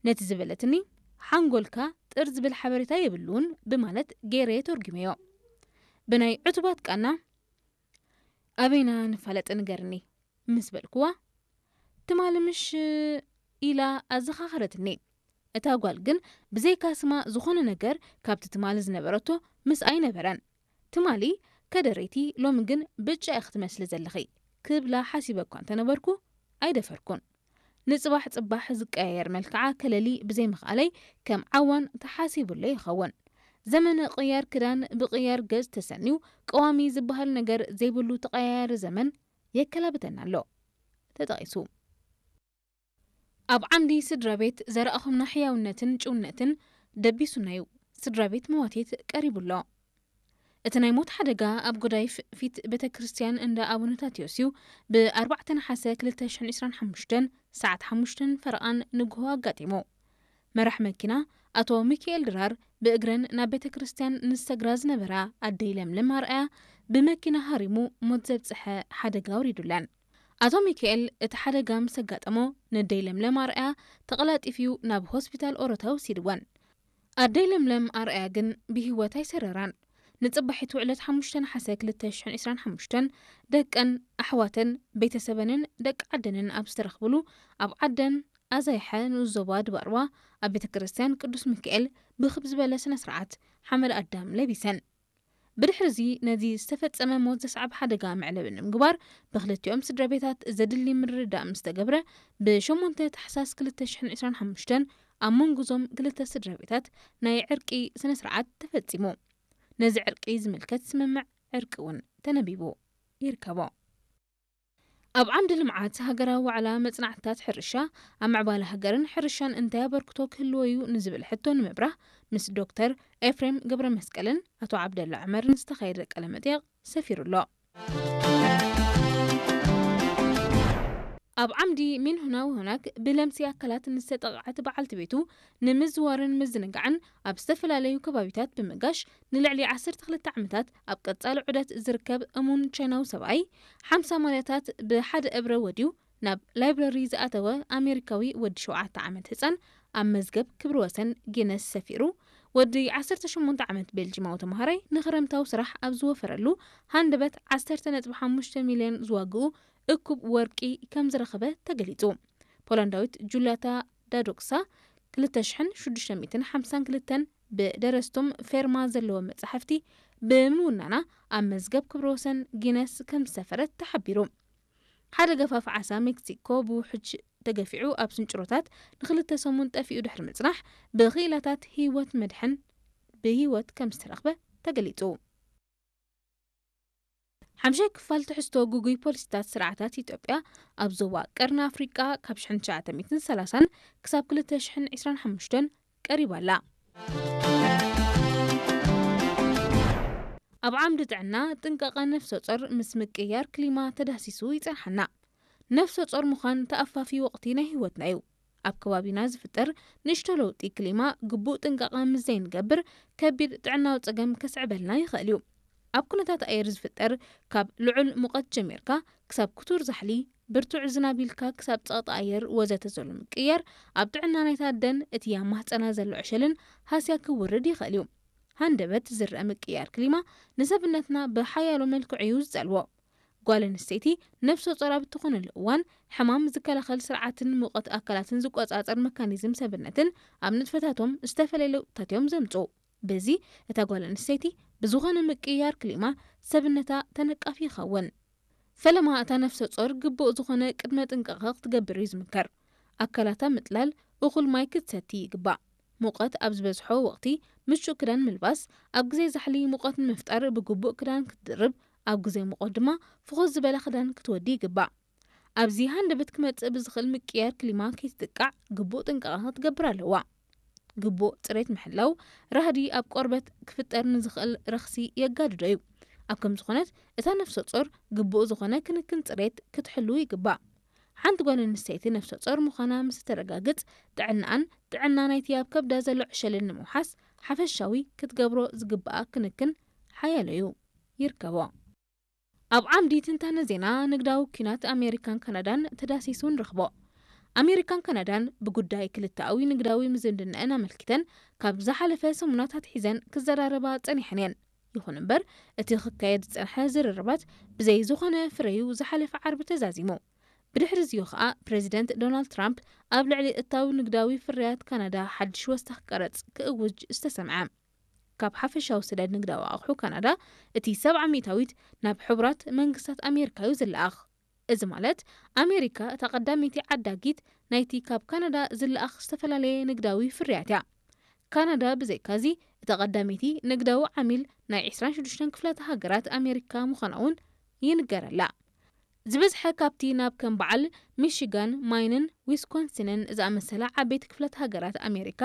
ነቲ ዝበለትኒ፣ ሓንጎልካ ጥር ዝብል ሓበሬታ የብሉን ብማለት ገይረ ተርጉመዮ። ብናይ ዕቱባት ቃና ኣበይና ንፋለጥ ንገርኒ ምስ በልኩዋ፣ ትማሊ ምሽ ኢላ ኣዘኻኸረትኒ። እታ ጓል ግን ብዘይካ ስማ ዝኾነ ነገር ካብቲ ትማሊ ዝነበረቶ ምስ ኣይነበረን። ትማሊ ከደረይቲ፣ ሎሚ ግን ብጫ ኢኺ ትመስሊ ዘለኺ ክብላ ሓሲበ እኳ እንተነበርኩ ኣይደፈርኩን። ንጽባሕ ጽባሕ ዝቀያየር መልክዓ ከለሊ ብዘይምኽኣለይ ከም ዓዋን ተሓሲቡለይ ይኸውን። ዘመነ ቅያር ክዳን ብቅያር ገጽ ተሰንዩ ቀዋሚ ዝበሃል ነገር ዘይብሉ ተቐያያሪ ዘመን የከላብተና ኣሎ። ተጠቒሱ። ኣብ ዓምዲ ስድራ ቤት ዘረኣኹምና ሕያውነትን ጭውነትን ደቢሱና እዩ። ስድራ ቤት መዋቴት ቀሪቡ ኣሎ። እቲ ናይ ሞት ሓደጋ ኣብ ጎዳይፍ ፊት ቤተ ክርስቲያን እንዳ ኣቡነ ታቴዎስ እዩ ብ ኣርባዕተ ነሓሰ ክልተ ሽሕን ዕስራን ሓሙሽተን ሰዓት ሓሙሽተን ፈረቓን ንግሆ ኣጋጢሙ። መራሕ መኪና ኣቶ ሚካኤል ድራር ብእግረን ናብ ቤተ ክርስቲያን ንሰግራ ዝነበራ ኣደይ ለምለም ኣርኣያ ብመኪና ሃሪሙ ሞት ዘብጽሐ ሓደጋ ኣውሪዱለን። ኣቶ ሚካኤል እቲ ሓደጋ ምስ ኣጋጠሞ ነደይ ለምለም ኣርኣያ ተቐላጢፉ ናብ ሆስፒታል ኦሮታ ወሲድወን። ኣደይ ለምለም ኣርኣያ ግን ብህይወት ኣይሰረራን። ንጽባሒቱ ዕለት ሓሙሽተ ነሓሰ ክልተ ሽሕን ዕስራን ሓሙሽተን ደቀን፣ ኣሕዋተን፣ ቤተሰበንን ደቂ ዓደንን ኣብ ዝተረኽብሉ ኣብ ዓደን ኣዛይሐ ንኡስ ዞባ ድባርዋ ኣብ ቤተ ክርስቲያን ቅዱስ ሚካኤል ብኽብ ዝበለ ስነ ስርዓት ሓመድ ኣዳም ለቢሰን። ብድሕሪ እዚ ነዚ ዝተፈጸመ ሞት ዘስዓብ ሓደጋ መዕለቢ ንምግባር ብክልቲኦም ስድራ ቤታት ዘድሊ ምርድዳእ ምስ ተገብረ ብ ሸሞንተ ታሕሳስ ክልተ ሽሕን ዕስራን ሓሙሽተን ኣብ መንጎ እዞም ክልተ ስድራ ቤታት ናይ ዕርቂ ስነ ስርዓት ተፈጺሙ። ነዚ ዕርቂ ዝምልከት ስምምዕ ዕርቂ እውን ተነቢቡ ይርከቦ። ኣብ ዓምዲ ልምዓት ሃገራዊ ዋዕላ መጽናዕትታት ሕርሻ ኣብ ምዕባለ ሃገርን ሕርሻን እንታይ ኣበርክቶ ክህልዎ እዩ ንዝብል ሕቶ ንምብራህ ምስ ዶክተር ኤፍሬም ገብረ መስቀልን ኣቶ ዓብደላ ዑመርን ዝተኻየደ ቃለ መጠይቕ ሰፊሩ ኣሎ። ኣብ ዓምዲ ሚን ሁና ወሆናክ ብለምሲ ኣካላት ንዝተጠቕዐት በዓልቲ ቤቱ ንምዝዋርን ምዝንጋዕን ኣብ ዝተፈላለዩ ከባቢታት ብምጋሽ ንልዕሊ ዓሰርተ ክልተ ዓመታት ኣብ ቀጻሊ ዑደት ዝርከብ እሙን ቻይናዊ ሰብኣይ ሓምሳ ማልያታት ብሓደ እብረ ወድዩ ናብ ላይብረሪ ዝኣተወ ኣሜሪካዊ ወዲ ሸውዓተ ዓመት ህጻን ኣብ መዝገብ ክብሪ ወሰን ጊነስ ሰፊሩ። ወዲ ዓሰርተ ሸሞንተ ዓመት ቤልጂማዊ ተምሃራይ ንኽረምታዊ ስራሕ ኣብ ዝወፈረሉ ሃንደበት ዓሰርተ ነጥቢ ሓሙሽተ ሚልዮን ዝዋግኡ እኩብ ወርቂ ከም ዝረኸበ ተገሊጹ። ፖላንዳዊት ጁልያታ ዳዶክሳ ክልተ ሽሕን ሽዱሽተ ሚእትን ሓምሳን ክልተን ብደረስቶም ፌርማ ዘለዎ መጻሕፍቲ ብምውናና ኣብ መዝገብ ክብረ ወሰን ጊነስ ከም ዝሰፈረት ተሓቢሩ። ሓደ ገፋፍ ዓሳ ሜክሲኮ ብውሕጅ ተገፊዑ ኣብ ስንጭሮታት ንክልተ ሰሙን ጠፊኡ ድሕሪ ምጽናሕ ብክኢላታት ህይወት መድሕን ብህይወት ከም ዝተረኽበ ተገሊጹ። ሓምሻይ ክፋል ትሕዝቶ ግጉይ ፖሊሲታት ስርዓታት ኢትዮጵያ ኣብ ዞባ ቀርኒ ኣፍሪቃ ካብ ሽሕን ትሽዓተ ሚእትን ሰላሳን ክሳብ ክልተ ሽሕን ዕስራን ሓሙሽተን ቀሪባ ኣላ። ኣብ ዓምዲ ጥዕና ጥንቃቐ ነፍሰ ጾር ምስ ምቅያር ክሊማ ተዳሲሱ ይጸንሓና። ነፍሰ ጾር ምዃን ተኣፋፊ ወቕቲ ናይ ህይወትና እዩ። ኣብ ከባቢና ዝፍጠር ንእሽቶ ለውጢ ክሊማ ግቡእ ጥንቃቐ ምስ ዘይንገብር ከቢድ ጥዕናዊ ጸገም ከስዕበልና ይኽእል እዩ። ኣብ ኩነታት ኣየር ዝፍጠር ካብ ልዑል ሙቐት ጀሚርካ ክሳብ ክቱር ዛሕሊ፣ ብርቱዕ ዝናብ ኢልካ ክሳብ ጸቕጢ ኣየር ወዘተ ዘሎ ምቅያር ኣብ ጥዕና ናይታ ኣደን እቲ ኣብ ማህጸና ዘሎ ዕሸልን ሃስያ ክውርድ ይኽእል እዩ። ሃንደበት ዝረአ ምቅያር ክሊማ ንሰብነትና ብሓያሎ መልክዑ እዩ ዝጸልዎ። ጓል ኣንስተይቲ ነፍሰ ጾር ኣብ እትኾነሉ እዋን ሕማም ዝከላኸል ስርዓትን ሙቐት ኣካላትን ዝቆጻጸር መካኒዝም ሰብነትን ኣብ ንጥፈታቶም ዝተፈላለየ ለውጥታት እዮም ዘምጽኡ። በዚ እታ ጓል ኣንስተይቲ ብዝኾነ ምቅያር ክሊማ ሰብነታ ተነቃፊ ይኸውን። ፈለማ እታ ነፍሰ ጾር ግቡእ ዝኾነ ቅድመ ጥንቃቐ ክትገብር እዩ ዝምከር። ኣካላታ ምጥላል፣ እኹል ማይ ክትሰቲ ይግባእ። ሙቐት ኣብ ዝበዝሖ ወቕቲ ምቹእ ክዳን ምልባስ፣ ኣብ ግዜ ዛሕሊ ሙቐት ንምፍጣር ብግቡእ ክዳን ክትድርብ፣ ኣብ ግዜ ሙቐት ድማ ፍኹስ ዝበለ ክዳን ክትወዲ ይግባእ። ኣብዚ ሃንደበት ክመጽእ ብዝኽእል ምቅያር ክሊማ ከይትጥቃዕ ግቡእ ጥንቃቐ ክትገብር ኣለዋ። ግቡእ ጽሬት ምሕላው ራህዲ ኣብ ቆርበት ክፍጠር ንዝኽእል ረኽሲ የጋድዶ እዩ። ኣብ ከምዚ ኩነት እታ ነፍሰ ጾር ግቡእ ዝኾነ ክንክን ጽሬት ክትሕሉ ይግባእ። ሓንቲ ጓል ኣንስተይቲ ነፍሰ ጾር ምዃና ምስ እተረጋግጽ ጥዕናኣን ጥዕና ናይቲ ኣብ ከብዳ ዘሎ ዕሸልን ንምውሓስ ሓፈሻዊ ክትገብሮ ዝግባኣ ክንክን ሓያሎ እዩ። ይርከቦ። ኣብ ዓምዲ ትንታነ ዜና ንግዳዊ ኲናት ኣሜሪካን ካናዳን ተዳሲሱ ንረኽቦ። ኣሜሪካን ካናዳን ብጉዳይ ክልተኣዊ ንግዳዊ ምዝምድናኣን ኣመልኪተን ካብ ዝሓለፈ ሰሙናት ኣትሒዘን ክዘራረባ ጸኒሐን እየን። ይኹን እምበር፣ እቲ ክካየድ ዝጸንሐ ዝርርባት ብዘይ ዝኾነ ፍረዩ ዝሓለፈ ዓርቢ ተዛዚሙ። ብድሕሪ እዚኡ ኸኣ፣ ፕረዚደንት ዶናልድ ትራምፕ ኣብ ልዕሊ እታዊ ንግዳዊ ፍርያት ካናዳ ሓድሽ ወሰኽ ቀረጽ ክእውጅ ዝተሰምዐ። ካብ ሓፈሻዊ ሰደድ ንግዳዊ ኣቑሑ ካናዳ፣ እቲ ሰብዓ ሚእታዊት ናብ ሕቡራት መንግስታት ኣሜሪካ እዩ ዝለኣኽ። እዚ ማለት፣ ኣሜሪካ እታ ቀዳመይቲ ዓዳጊት ናይቲ ካብ ካናዳ ዝለኣኽ ዝተፈላለየ ንግዳዊ ፍርያት እያ። ካናዳ ብዘይካዚ እታ ቀዳመይቲ ንግዳዊ ዓሚል ናይ ዕስራን ሽዱሽተን ክፍላተ ሃገራት ኣሜሪካ ምዃና እውን ይንገረላ። ዝበዝሐ ካብቲ ናብ ከም በዓል ሚሽጋን፣ ማይንን ዊስኮንሲንን ዝኣመሰላ ዓበይቲ ክፍላተ ሃገራት ኣሜሪካ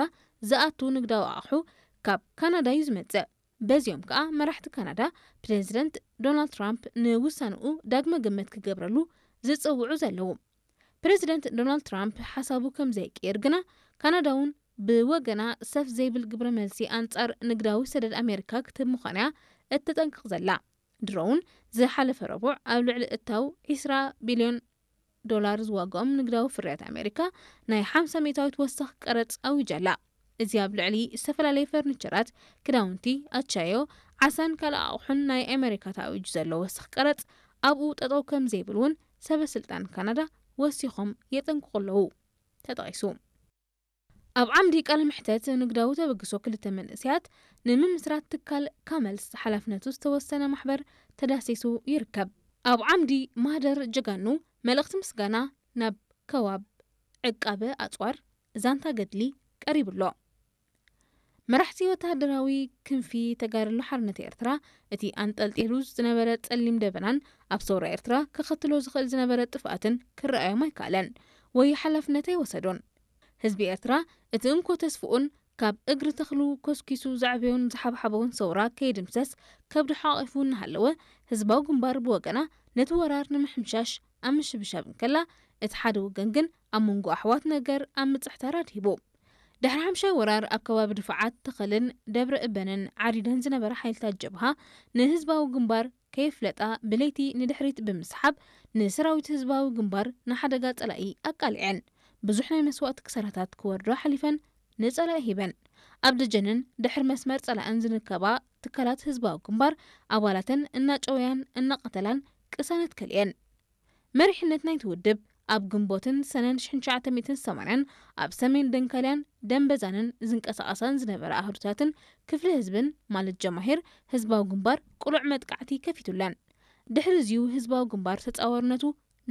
ዝኣቱ ንግዳዊ ኣቑሑ ካብ ካናዳ እዩ ዝመጽእ። በዚኦም ከኣ መራሕቲ ካናዳ ፕረዚደንት ዶናልድ ትራምፕ ንውሳንኡ ዳግመ ግምት ክገብረሉ ዝጽውዑ ዘለዉ። ፕረዚደንት ዶናልድ ትራምፕ ሓሳቡ ከም ዘይቅየር ግና፣ ካናዳ እውን ብወገና ሰፍ ዘይብል ግብረ መልሲ ኣንጻር ንግዳዊ ሰደድ ኣሜሪካ ክትህብ ምዃና እያ እተጠንቅቕ ዘላ። ድሮ እውን ዝሓለፈ ረቡዕ ኣብ ልዕሊ እታው ዕስራ ቢልዮን ዶላር ዝዋግኦም ንግዳዊ ፍርያት ኣሜሪካ ናይ ሓምሳ ሚእታዊት ወሰኽ ቀረጽ ኣዊጃ ኣላ። እዚ ኣብ ልዕሊ ዝተፈላለየ ፈርኒቸራት፣ ክዳውንቲ፣ ኣቻዮ፣ ዓሳን ካልእ ኣቑሑን ናይ ኣሜሪካ ተኣዊጁ ዘሎ ወሰኽ ቀረጽ ኣብኡ ጠጠው ከም ዘይብል እውን ሰበ ስልጣን ካናዳ ወሲኾም የጠንቅቑ ኣለዉ ተጠቒሱ። ኣብ ዓምዲ ቃለ መሕተት ንግዳዊ ተበግሶ ክልተ መንእሰያት ንምምስራት ትካል ካመልስ ሓላፍነቱ ዝተወሰነ ማሕበር ተዳሲሱ ይርከብ። ኣብ ዓምዲ ማህደር ጀጋኑ መልእኽቲ ምስጋና ናብ ከባብ ዕቃበ ኣጽዋር ዛንታ ገድሊ ቀሪቡ ኣሎ። መራሕቲ ወተሃደራዊ ክንፊ ተጋድሎ ሓርነት ኤርትራ እቲ ኣንጠልጢሉ ዝነበረ ጸሊም ደበናን ኣብ ሰውራ ኤርትራ ከኸትሎ ዝኽእል ዝነበረ ጥፍኣትን ክረኣዮም ኣይከኣለን ወይ ሓላፍነት ኣይወሰዶን። ህዝቢ ኤርትራ እቲ እንኮ ተስፍኡን ካብ እግሪ ተኽሉ ኮስኪሱ ዘዕበዮን ዝሓብሓቦን ሰውራ ከይድምሰስ ከብዱ ሓቒፉ እናሃለወ፣ ህዝባዊ ግንባር ብወገና ነቲ ወራር ንምሕምሻሽ ኣብ ምሽብሻብ እንከላ፣ እቲ ሓደ ወገን ግን ኣብ መንጎ ኣሕዋት ነገር ኣብ ምጽሕታር ኣድሂቡ። ድሕሪ ሓምሻይ ወራር ኣብ ከባቢ ድፋዓት ተኸልን ደብረ እበንን ዓሪደን ዝነበራ ሓይልታት ጀብሃ ንህዝባዊ ግንባር ከየፍለጣ ብለይቲ ንድሕሪት ብምስሓብ ንሰራዊት ህዝባዊ ግንባር ንሓደጋ ጸላኢ ኣቃሊዐን። ብዙሕ ናይ መስዋእቲ ክሳራታት ክወርዶ ሓሊፈን ንጸላኢ ሂበን። ኣብ ደጀንን ድሕሪ መስመር ጸላእን ዝርከባ ትካላት ህዝባዊ ግንባር ኣባላተን እናጨወያን እናቐተላን ቅሳነት ከልኤን። መሪሕነት ናይቲ ውድብ ኣብ ግንቦትን ሰነን ሽሕን ትሽዓተ ሚእትን ሰማንያን ኣብ ሰሜን ደንካልያን ደንበዛንን ዝንቀሳቐሳን ዝነበራ ኣህዱታትን ክፍሊ ህዝብን ማለት ጀማሂር ህዝባዊ ግንባር ቅሉዕ መጥቃዕቲ ከፊቱለን። ድሕሪ እዚዩ ህዝባዊ ግንባር ተጻዋርነቱ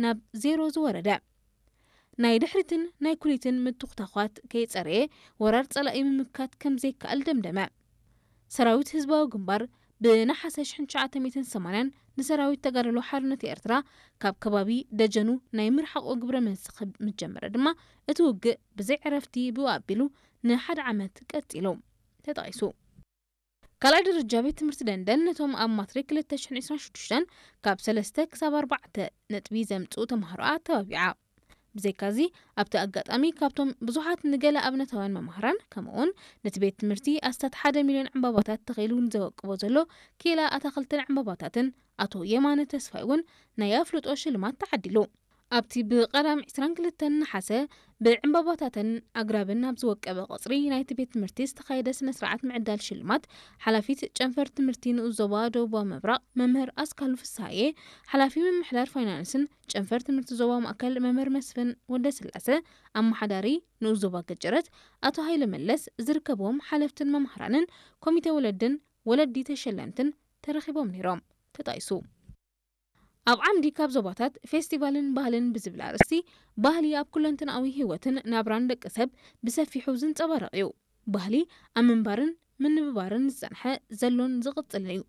ናብ ዜሮ ዝወረደ። ናይ ድሕሪትን ናይ ኩሊትን ምትኹታዃት ከይጸረየ ወራር ጸላኢ ምምካት ከም ዘይከኣል ደምደመ። ሰራዊት ህዝባዊ ግንባር ብነሓሰ ሽሕን ትሽዓተ ሚእትን ሰማንያን ንሰራዊት ተጋድሎ ሓርነት ኤርትራ ካብ ከባቢ ደጀኑ ናይ ምርሓቑ ግብረ መልሲ ክብ ምስ ጀመረ ድማ እቲ ውግእ ብዘይ ዕረፍቲ ብኡ ኣቢሉ ንሓደ ዓመት ቀጺሉ ተጠቒሱ። ካልኣይ ደረጃ ቤት ትምህርቲ ደንደን ነቶም ኣብ ማትሪክ ክልተ ሽሕን ዕስራን ሽዱሽተን ካብ ሰለስተ ክሳብ ኣርባዕተ ነጥቢ ዘምጽኡ ተምሃሮ ኣተባቢዓ። ብዘይካዚ ኣብቲ ኣጋጣሚ ካብቶም ብዙሓት ንገለ ኣብነታውያን መማህራን ከምኡውን ነቲ ቤት ትምህርቲ ኣስታት ሓደ ሚልዮን ዕምባባታት ተኺሉ ንዘወቅቦ ዘሎ ኪላ ኣታኽልትን ዕምባባታትን ኣቶ የማነ ተስፋይ እውን ናይ ኣፍልጦ ሽልማት ተዓዲሉ። ኣብቲ ብቐዳም ዕስራን ክልተን ነሓሰ ብዕምባባታትን ኣግራብን ኣብ ዝወቀበ ቀጽሪ ናይቲ ቤት ትምህርቲ ዝተኻየደ ስነ ስርዓት ምዕዳል ሽልማት ሓላፊት ጨንፈር ትምህርቲ ንኡስ ዞባ ደቡባዊ ምብራቕ መምህር ኣስካሉ ፍስሃየ፣ ሓላፊ ምምሕዳር ፋይናንስን ጨንፈር ትምህርቲ ዞባ ማእከል መምህር መስፍን ወልደስላሰ፣ ኣመሓዳሪ ንኡስ ዞባ ገጀረት ኣቶ ሃይለ መለስ ዝርከብዎም ሓለፍትን መማህራንን ኮሚተ ወለድን ወለዲ ተሸለምትን ተረኺቦም ነይሮም ተጣይሱ። ኣብ ዓምዲ ካብ ዞባታት ፌስቲቫልን ባህልን ብዝብል ኣርእስቲ፣ ባህሊ ኣብ ኩለንትናዊ ህይወትን ናብራን ደቂ ሰብ ብሰፊሑ ዝንጸባረቕ እዩ። ባህሊ ኣብ ምንባርን ምንብባርን ዝጸንሐ ዘሎን ዝቕጽልን እዩ።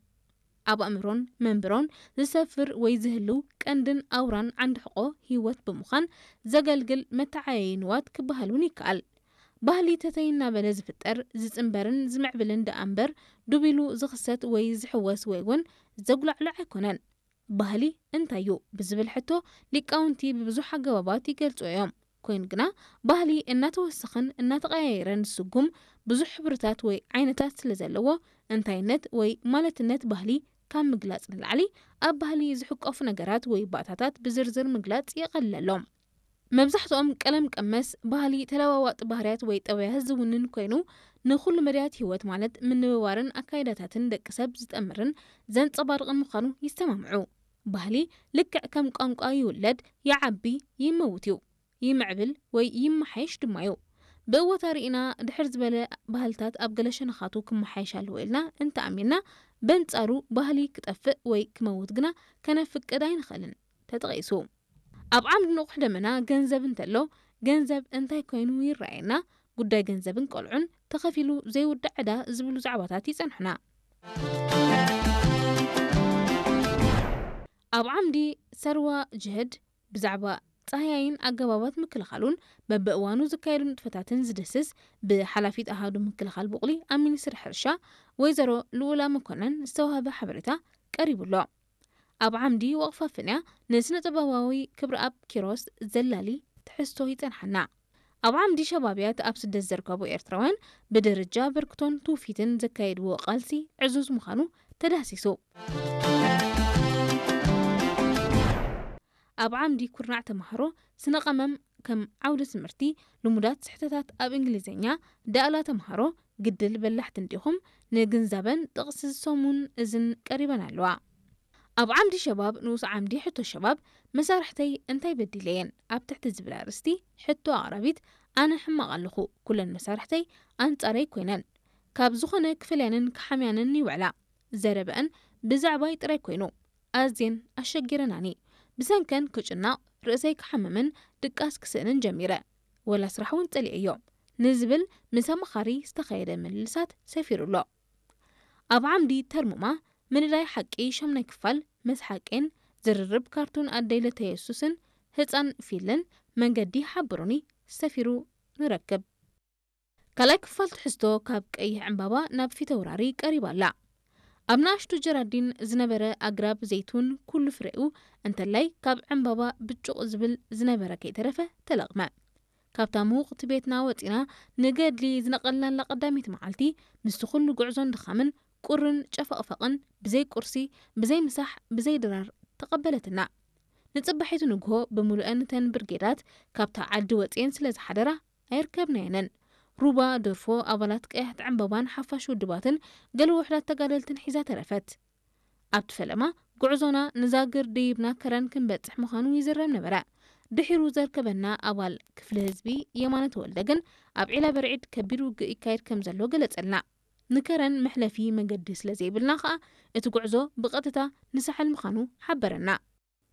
ኣብ ኣእምሮን መንብሮን ዝሰፍር ወይ ዝህልው ቀንድን ኣውራን ዓንዲ ሕቖ ህይወት ብምዃን ዘገልግል መተዓየዪ ንዋት ክበሃል እውን ይከኣል። ባህሊ ተተይ እናበለ ዝፍጠር፣ ዝጽንበርን ዝምዕብልን ደኣ እምበር ዱብ ኢሉ ዝኽሰት ወይ ዝሕወስ ወይ እውን ዘጉላዕሉዕ ኣይኮነን። ባህሊ እንታይ እዩ ብዝብል ሕቶ ሊቃውንቲ ብብዙሕ ኣገባባት ይገልጹ እዮም። ኮይኑ ግና ባህሊ እናተወሰኸን እናተቐያየረን ዝስጉም ብዙሕ ሕብርታት ወይ ዓይነታት ስለ ዘለዎ፣ እንታይነት ወይ ማለትነት ባህሊ ካብ ምግላጽ ንላዕሊ ኣብ ባህሊ ዝሕቆፉ ነገራት ወይ ባእታታት ብዝርዝር ምግላጽ የቐልለሎም። መብዛሕትኦም ቀለም ቀመስ፣ ባህሊ፣ ተለዋዋጢ ባህርያት ወይ ጠባያት ዝውንን ኮይኑ፣ ንኹሉ መዳያት ህይወት ማለት ምንብባርን ኣካይዳታትን ደቂ ሰብ ዝጠምርን ዘንጸባርቕን ምዃኑ ይሰማምዑ። ባህሊ ልክዕ ከም ቋንቋ ይውለድ፣ ይዓቢ፣ ይመውት እዩ። ይምዕብል ወይ ይመሓየሽ ድማ እዩ። ብእወታ ርኢና ድሕር ዝበለ ባህልታት ኣብ ገለ ሸነኻቱ ክመሓየሽ ኣለዎ ኢልና እንተኣሚንና፣ በንጻሩ ባህሊ ክጠፍእ ወይ ክመውት ግና ከነፍቅድ ኣይንኽእልን። ተጠቒሱ። ኣብ ዓምዲ ንቑሕ ደመና ገንዘብ እንተሎ፣ ገንዘብ እንታይ ኮይኑ ይረኣየና፣ ጉዳይ ገንዘብን ቆልዑን፣ ተኸፊሉ ዘይውዳእ ዕዳ ዝብሉ ዛዕባታት ይጸንሑና። ኣብ ዓምዲ ሰርዋ ጅህድ ብዛዕባ ጻህያይን ኣገባባት ምክልኻሉን በብእዋኑ ዝካየዱ ንጥፈታትን ዝድህስስ ብሓላፊት ኣሃዱ ምክልኻል ቡቕሊ ኣብ ሚኒስትሪ ሕርሻ ወይዘሮ ልኡላ መኮነን ዝተዋህበ ሓበሬታ ቀሪቡ ኣሎ። ኣብ ዓምዲ ወቕፋ ፍንያ ንስነ ጥበባዊ ክብረኣብ ኪሮስ ዘላሊ ትሕዝቶ ይጸንሓና። ኣብ ዓምዲ ሸባብያት ኣብ ስደት ዝርከቡ ኤርትራውያን ብደረጃ በርክቶን ትውፊትን ዘካየድዎ ቃልሲ ዕዙዝ ምዃኑ ተዳህሲሱ። ኣብ ዓምዲ ኩርናዕ ተምሃሮ ስነ ቀመም ከም ዓውዲ ትምህርቲ ልሙዳት ስሕተታት ኣብ እንግሊዝኛ፣ ዳእላ ተምሃሮ ግድል በላሕቲ እንዲኹም ንግንዛበን ጥቕሲ ሰሙን እዝን ቀሪበን ኣለዋ። ኣብ ዓምዲ ሸባብ ንኡስ ዓምዲ ሕቶ ሸባብ መሳርሕተይ እንታይ በዲለየን ኣብ ትሕቲ ዝብል ኣርእስቲ ሕቶ ኣቕራቢት ኣነ ሕማቕ ኣለኹ፣ ኩለን መሳርሕተይ ኣንጻረይ ኮይነን ካብ ዝኾነ ክፈልያንን ክሓምያንን ይውዕላ፣ ዘረበአን ብዛዕባይ ጥራይ ኮይኑ ኣዝየን ኣሸጊረናኒ። ብሰንከን ክጭነቕ፣ ርእሰይ ክሓምምን ድቃስ ክስእንን ጀሚረ። ወላ ስራሕ እውን ጸሊኤዮ ንዝብል ምስ ኣማኻሪ ዝተኻየደ ምልልሳት ሰፊሩ ኣሎ። ኣብ ዓምዲ ተርሙማ ምንዳይ ሓቂ ሻምናይ ክፋል መስሓቄን ዝርርብ ካርቱን ኣደይ ለተየሱስን ህፃን ፊልን መንገዲ ሓብሩኒ ሰፊሩ ንረክብ። ካልኣይ ክፋል ትሕዝቶ ካብ ቀይሕ ዕምባባ ናብ ፊተውራሪ ቀሪባ ኣላ። ኣብ ንኣሽቱ ጀራዲን ዝነበረ ኣግራብ ዘይቱን ኩሉ ፍሬኡ እንተላይ ካብ ዕምባባ ብጩቕ ዝብል ዝነበረ ከይተረፈ ተለቕመ። ካብታ ምውቕቲ ቤትና ወጺና ንገድሊ ዝነቐልናላ ቀዳመይቲ መዓልቲ ምስቲ ኩሉ ጉዕዞን ድኻምን ቁርን ጨፈቕፈቕን ብዘይ ቁርሲ ብዘይ ምሳሕ ብዘይ ድራር ተቐበለትና። ንጽባሒቱ ንግሆ ብምሉአን እተን ብርጌዳት ካብታ ዓዲ ወጺኤን ስለ ዝሓደራ ኣይርከብናየንን። ሩባ፣ ደርፎ፣ ኣባላት ቀያሕቲ ዕምባባን ሓፋሽ ውድባትን ገለ ውሑዳት ተጋደልትን ሒዛ ተረፈት። ኣብቲ ፈለማ ጉዕዞና ንዛግር ደይብና ከረን ክንበጽሕ ምዃኑ ይዝረብ ነበረ። ድሒሩ ዘርከበና ኣባል ክፍሊ ህዝቢ የማነ ተወልደ ግን ኣብ ዒላ በርዒድ ከቢድ ውግእ ይካየድ ከም ዘሎ ገለጸልና። ንከረን መሕለፊ መገዲ ስለ ዘይብልና ከኣ እቲ ጉዕዞ ብቐጥታ ንሳሕል ምዃኑ ሓበረና።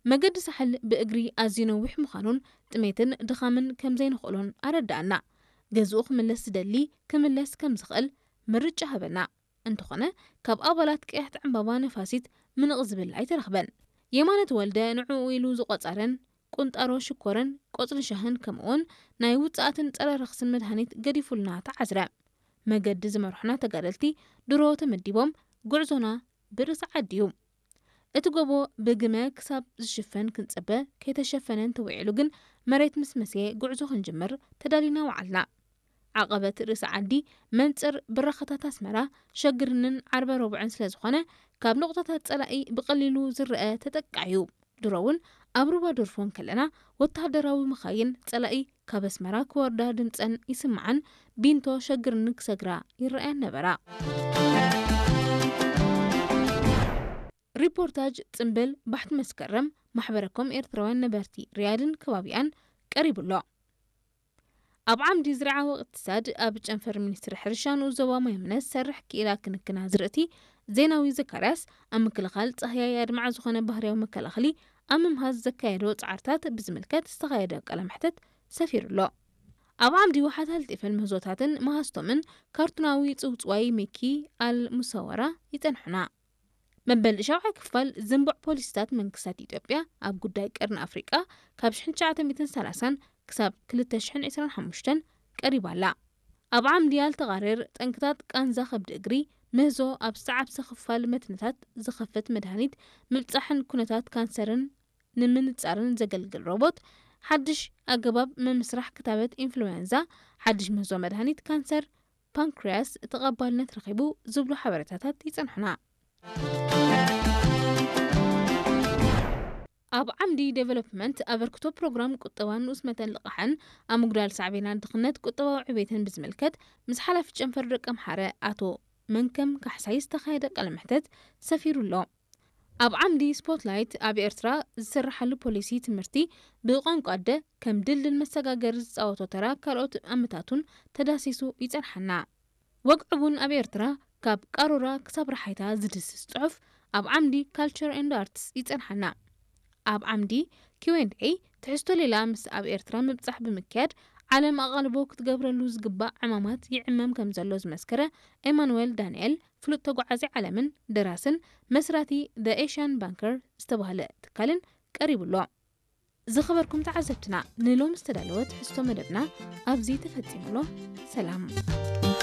መገዲ ሳሕል ብእግሪ ኣዝዩ ነዊሕ ምዃኑን ጥሜትን ድኻምን ከም ዘይንኽእሎን ኣረዳኣና። ገዝኡ ክምለስ ዝደሊ ክምለስ ከም ዝኽእል ምርጫ ሃበና። እንተኾነ ካብ ኣባላት ቀያሕቲ ዕምባባ ነፋሲት ምንቕ ዝብል ኣይተረኽበን። የማነ ተወልደ ንዕኡ ኢሉ ዝቖጸረን ቁንጣሮ ሽኮርን ቆጽሊ ሻህን ከምኡውን ናይ ውጽኣትን ጸረ ረኽስን መድሃኒት ገዲፉልና ተዓዝረ። መገዲ ዝመርሑና ተጋደልቲ ድሮ ተመዲቦም ጉዕዞና ብርእሲ ዓዲ እዩ። እቲ ጎቦ ብግመ ክሳብ ዝሽፈን ክንጽበ ከይተሸፈነ እንተውዒሉ ግን መሬት ምስ መስየ ጉዕዞ ክንጅምር ተዳሊና ወዓልና። ዓቐበት ርእሲ ዓዲ መንጽር ብራኸታት ኣስመራ ሸግርንን ዓርበ ረቡዕን ስለ ዝኾነ ካብ ነቑጣታት ጸላኢ ብቐሊሉ ዝረአ ተጠቃዒ እዩ። ድሮ እውን ኣብ ሩባ ዶርፎ እንከለና ወተሃደራዊ መኻይን ጸላኢ ካብ ኣስመራ ክወርዳ ድምጸን ይስምዓን ቢንቶ ሸግርን ክሰግራ ይረኣያን ነበራ። ሪፖርታጅ ጽምብል ባሕቲ መስከረም ማሕበረኮም ኤርትራውያን ነበርቲ ሪያድን ከባቢኣን ቀሪቡ ኣሎ። ኣብ ዓምዲ ዝርዓዊ እቅትሳድ ኣብ ጨንፈር ሚኒስትሪ ሕርሻ ንኡስ ዞባ ማይምነ ዝሰርሕ ክኢላ ክንክን ኣዝርእቲ ዜናዊ ዘካርያስ ኣብ ምክልኻል ጻህያይ ኣድማዒ ዝኾነ ባህርያዊ መከላኸሊ ኣብ ምምሃዝ ዘካየዶ ጻዕርታት ብዝምልከት ዝተኻየደ ቃለ መሕተት ሰፊሩ ኣሎ። ኣብ ዓምዲ ውሓት ሃልጢፍን ምህዞታትን መሃዝቶምን ካርቱናዊ ጽውጽዋይ ሚኪ ኣል ሙሰወራ ይጸንሑና። መበል ሻብዓይ ክፋል ዝንቡዕ ፖሊሲታት መንግስታት ኢትዮጵያ ኣብ ጉዳይ ቀርኒ ኣፍሪቃ ካብ ሽሕን ትሽዓተ ሚእትን ሰላሳን ክሳብ ክልተ ሽሕን ዕስራን ሓሙሽተን ቀሪባ ኣላ። ኣብ ዓምዲ ኣልተቓርር ጠንክታት ቃንዛ ከብዲ እግሪ ምህዞ ኣብ ዝተዓብሰ ክፋል መትንታት ዝኸፍት መድሃኒት ምብጻሕን ኩነታት ካንሰርን ንምንጻርን ዘገልግል ሮቦት፣ ሓድሽ ኣገባብ ምምስራሕ ክታበት ኢንፍሉዌንዛ፣ ሓድሽ ምህዞ መድሃኒት ካንሰር ፓንክርያስ ተቐባልነት ረኺቡ ዝብሉ ሓበሬታታት ይጸንሑና። ኣብ ዓምዲ ዴቨሎፕመንት ኣበርክቶ ፕሮግራም ቁጠባን ንኡስ መጠን ልቓሕን ኣብ ምጉዳል ሳዕቤናት ድኽነት ቁጠባዊ ዕቤትን ብዝምልከት ምስ ሓላፊ ጨንፈር ደቀምሓረ ኣቶ መንከም ካሕሳይ ዝተኻየደ ቃለ መሕተት ሰፊሩ ኣሎ። ኣብ ዓምዲ ስፖትላይት ኣብ ኤርትራ ዝስርሓሉ ፖሊሲ ትምህርቲ ብቋንቋ ኣደ ከም ድልድል መሰጋገሪ ዝፃወቶ ተራ ካልኦት ኣመታቱን ተዳሲሱ ይፀንሓና። ወግዕቡን ኣብ ኤርትራ ካብ ቃሮራ ክሳብ ረሓይታ ዝድስስ ፅሑፍ ኣብ ዓምዲ ካልቸር ኤንድ ኣርትስ ይፀንሓና። ኣብ ዓምዲ ኪው ኤንድ ኤ ትሕዝቶ ሌላ ምስ ኣብ ኤርትራ ምብጻሕ ብምክያድ ዓለም ኣቓልቦ ክትገብረሉ ዝግባእ ዕማማት ይዕመም ከም ዘሎ ዝመስከረ ኤማኑኤል ዳንኤል፣ ፍሉጥ ተጓዓዚ ዓለምን ደራስን መስራቲ The Asian Banker ዝተባህለ ትካልን ቀሪቡ ኣሎ። ዝኸበርኩም ተዓዘብትና፣ ንሎም ዝተዳለወ ትሕዝቶ መደብና ኣብዚ ተፈጺሙ ኣሎ። ሰላም።